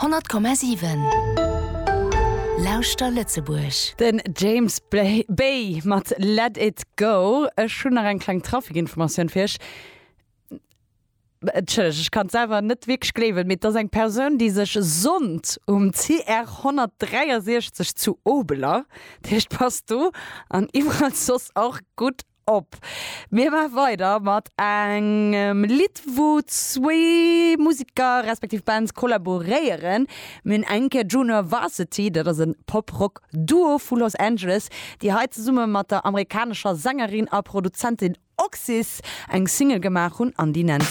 100,7 Lauschter Lëtzebuerg. Den James Bay mat Let It Go. Ech hunn nach eng kleng Trafikinformatioun fir iech. Entschëllegt, ech kann et selwer net wierklech gleewen, mee et ass eng Persoun, déi sech sonnt um CR 163 zu Obeler. Dat heescht, passt do an iwwerall soss och gutt op. Mir maache weider mat engem Lidd, wou zwee Museker respektiv Bands kollaboréieren. Mir hunn eng Kéier Junior Varsity, dat ass e Pop-Rock-Duo vu Los Angeles, déi hei zesumme mat der amerikanescher Sängerin a Produzentin Oxys eng Single gemaach hunn an déi nennt.